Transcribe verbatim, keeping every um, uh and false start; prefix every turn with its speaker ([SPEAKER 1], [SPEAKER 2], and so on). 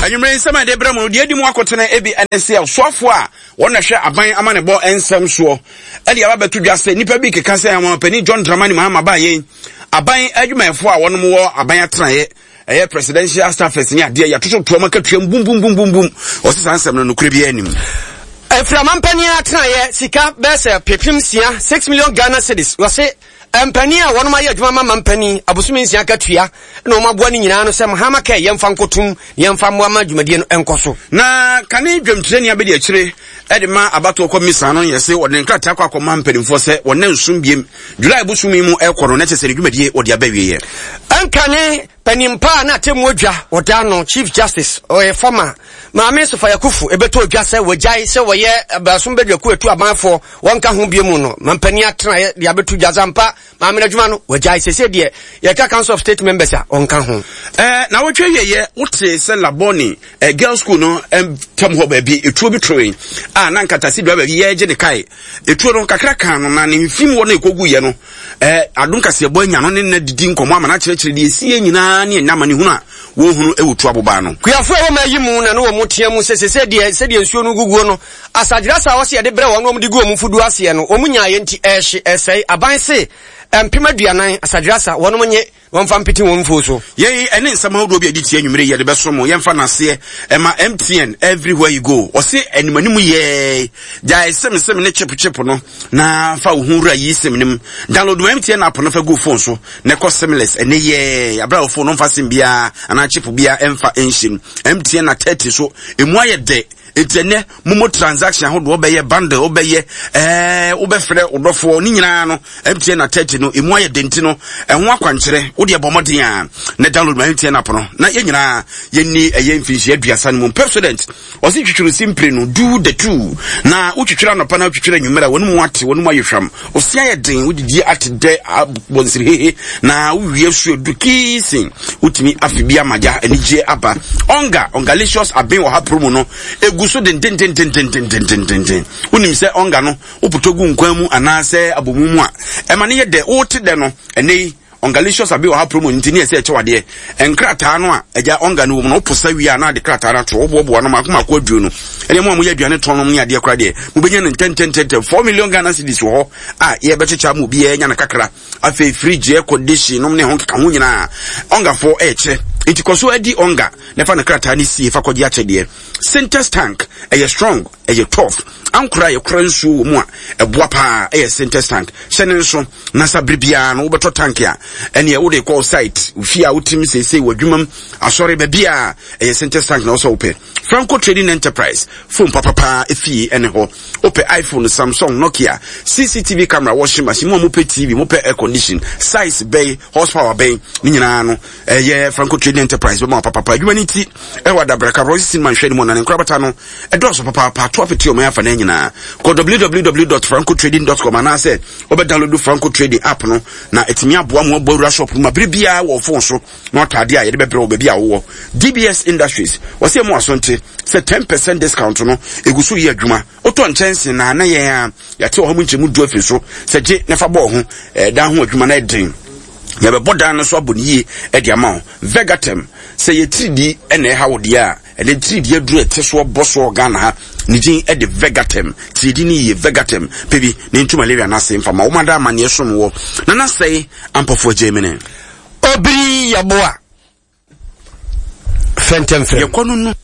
[SPEAKER 1] Anwummerɛ nsɛm a yɛde brɛ mu no, deɛ adi mu akotene ebi ɛne sɛ ɔsoafoɔ a wɔn na hwɛ aban amanebɔ nsɛm soɔ ɛde aba bɛto dwa sɛ nnipa bi keka sɛ ɔmampanin John Dramani Mahama baa yɛn aban adwumayɛfoɔ a wɔnom wɔ aban atenaeɛ, ɛyɛ presidential staffers ne adeɛ, yɛatoto toɔ ma katuam bum bum bum bum bum. Ɔsɛ saa nsɛm no nokorɛ biara anim.
[SPEAKER 2] Afiri mpanin atenaeɛ sika bɛyɛ sɛ pepem nsia, six million Ghana cedis. Wɔse mpanin a wɔnom ayɛ adwuma ma mampanin abosome nsia katua na wɔn aboa no nyinaa no sɛ Mahama kɛ yɛmfa nkotum, yɛmfa mmoa ma dwumadie no nkɔ so.
[SPEAKER 1] Na kane dwamtirani abɛdi akyire ɛde ma abatoɔ kɔ misa no, yɛ sɛ wɔde ne nkrataa kɔ akɔma mpanimfoɔ sɛ wɔne nsom biem July bosom yi mu ɛkɔ no, na kyerɛ sɛ ne dwumadie wɔde aba wieɛ.
[SPEAKER 2] Ɛnkane panimpa a na atemmu adwa wɔda no, Chief Justice ɔyɛ former Maame Sophia Akuffo, ɛbɛtɔ odwa sɛ wɔgyae sɛ wɔyɛ abasom badwaku atu amanfoɔ wɔnka ho bio mu no, mampanin atenaeɛ de abɛto dwa zampa maame no adwuma no wɔgyae. Sɛsɛ deɛ yɛka Council of State members a ɔnka ho.
[SPEAKER 1] Ɛɛ na wɔtwa wieyɛ, wote sɛ Labone ɛ girls school no tam hɔ baabi etuo bi toe a na nkatase dua baabi yɛgye ne kae etuo no kakra kan no na ne mfim wɔ no ekogu yɛ no. ɛɛ adom kaseɛbɔ anya no ne nna didi nkɔmɔ ama no akyerɛkyerɛ deɛ esie nyinaa ne ɛnam ne hunu a wɔhunu ɛwɔ tu abobaa no.
[SPEAKER 2] Kuafoɔ a wɔma ayi mu na ne wɔ mu tea mu sɛ sɛsɛ deɛ sɛdeɛ nsuo no guguo no, asagyerasa a wɔsɛ yɛde brɛ wɔn na wɔn de gu wɔn mfuduo aseɛ no, wɔn nyaayɛ nti ɛhye ɛsɛe. Aban se mpem aduanan asagyerasa wɔnom nye wɔmfa mpete wɔn mfuo so.
[SPEAKER 1] Yɛyi ɛne nsɛm ahodoɔ bi a ɛde tie anwummere yɛde bɛso mo. Yɛmfa n'aseɛ ɛma M T N, everywhere you go. Ɔse animanim yɛɛ gyae sim sim ne chip chip no na fa wo ho wura yi sim no mu. Download M T N app no fa gu phone so na ɛkɔ simless ɛne yɛɛ aberɛ a wo phone no mfa sim biara anaa chip biara ɛmfa ɛnhyɛ mu. M T N na thirty so emu ayɛ dɛ, nti ɛnɛ momo transaction ahodoɔ, wobɛyɛ bundle, wobɛyɛ ɛɛ wobɛfrɛ wodɔfoɔ ne nyinaa no, M T N na thirty no emu ayɛ dɛ, nti no ɛho akwankyerɛ wode ɛbɔ mmɔden a na download ma M T N app no na yɛn nyinaa yɛnni ɛyɛ mfinhyia aduasa no mu. Pepsodent ɔse twitwiri si mpire no, do the two, na wotwitwiri anɔpa na wotwitwiri anwummerɛ a, wɔn mu ate, wɔn mu ayɛ hwam, osia yɛ den, wodidi ate dɛ abɔ nsiri hehe na wowie so edu kiisi wotumi afi bi amagya anigye aba. Ɔnga Ɔngalicious aben wɔ ha promo no egu so dendendendendendendenden. Wonim sɛ ɔnga no wopotɔ gu nkwan mu anaasɛ abomu mu a, ɛma ne yɛ dɛ, wote dɛ no. Ɛnɛ yi Ɔngalicious abe wɔ ha promo nti ne ɛsɛ ɛkyɛw adeɛ nkrataa no a agya ɔnga no wɔ mu no, woposa wie a na ade krataa no ato, woboaboa no maako maako aduo no. Ɛdeɛ mo a moyɛ aduane tɔn nom ne adeɛ koraa deɛ, mobɛnya no ntɛntɛntɛntɛm. four million Ghana cedis wɔ hɔ a yɛbɛkyekyɛ ama obiara nya no kakra. Afei fridge, air condition nom ne ho keka ho nyinaa ɔngafoɔ ɛɛkyɛ, nti kɔ so adi ɔnga na fa no krataa no sie fa kɔgye akyɛdeɛ. Sintex tank ɛyɛ strong, ɛyɛ tough, ankora a yɛkora nsuo wɔ mu a ɛboa paa ɛyɛ Sintex tank. Hyɛ ne nso na sa bere biara no wobɛtɔ tank a ɛneɛ wode kɔ site fie a wotim seesei wɔ adwumam, asɔre, baabi a ɛyɛ Sintex tank na wosɛ wopɛ. Franco Trading Enterprise, phone papapaa efie ɛne hɔ. Wopɛ iPhone, Samsung, Nokia, C C T V camera, washing machine, mo a mopɛ T V, mopɛ air condition size bɛyi, horsepower bɛyi ne nyinaa no, ɛyɛ Franco Trading Enterprise bɛma wo papapa. Adwuma no ti ɛwɔ Adabraka Royce Cinema nhwɛ no mu na ne nkorabata no ɛdɔɔso papaapa ato apete ɔman afa no nyinaa. Kɔ w w w dot francotrading dot com anaasɛ wobɛ download Franco Trading app no na ɛtumi aboa mo abɔ awura shop no ma bere biara wɔ phone so na watɔ adeɛ a yɛde bɛbrɛ wɔ baabi a wowɔ. D B S Industries wɔsɛ mu asonte sɛ ten percent discount no ɛgu so yɛ adwuma. Wotɔ nkyɛnse na na yɛn a yɛate wɔ hɔ mu nkyɛmu du afiri so sɛ gye ne fa bɔɔ ho ɛdan ho adwuma no ɛden, yɛbɛbɔ dan no so abɔ ne yie ɛde ama wo. Vegatem sɛ yɛtiridi ɛna ɛha wo deɛ a, ɛne tiridi aduru ɛte soɔ bɔ soɔ Ghana ha ne din ɛde Vegatem. Tiridi ne yie Vegatem pɛ bi ne ntu malaria no ase mfama wɔn ada amanneɛ som wɔ nana sɛe ampɔfoɔ agye mene.
[SPEAKER 2] Obiri yɛboa fɛntɛmfrɛ.
[SPEAKER 1] Yɛkɔ no no.